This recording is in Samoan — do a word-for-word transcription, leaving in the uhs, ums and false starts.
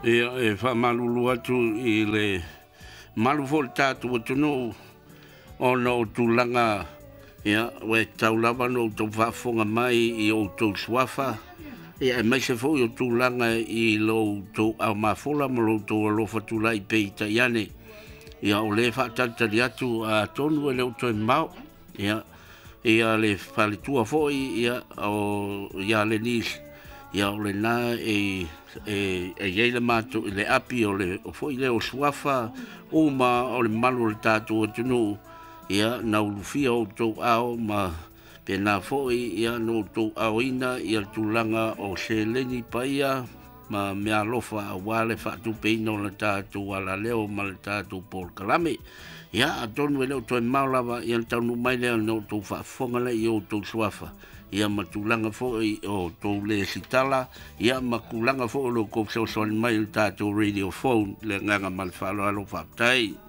Ia, e faamalulu atu i le malu foi o le tatou atunuu ona o tulaga, ia, ua e tatau lava ona outou faafofoga mai i outou suafa, ia aemaise foi o tulaga i lo outou aumafola ma lo outou alofa tulai peitai ane. Ia o lea e faatalitali atu atonu e le o toe mamao. Ia, ia le faletua foi ia o ia Lenis, ia o lena e e e i ai le matou le api o le o foi lea o suafa uma o le malu o le tatou atunuu, ia na ulufia outou ao ma pena foi ia na outou aoina ia le tulaga o seleni paia ma meaalofa aua le faatupeina o le tatou alaleo ma le tatou polokalame. Ia atonu e le o toe mamao lava ia le taunuu mai lea na outou faafofoga lea i outou suafa, ia ma tulaga foi o tou lesitala, ia ma tulaga foi o lo outou fesoasoani mai i le tatou radio phone. Le agaga ma le faaaloalo, faafetai.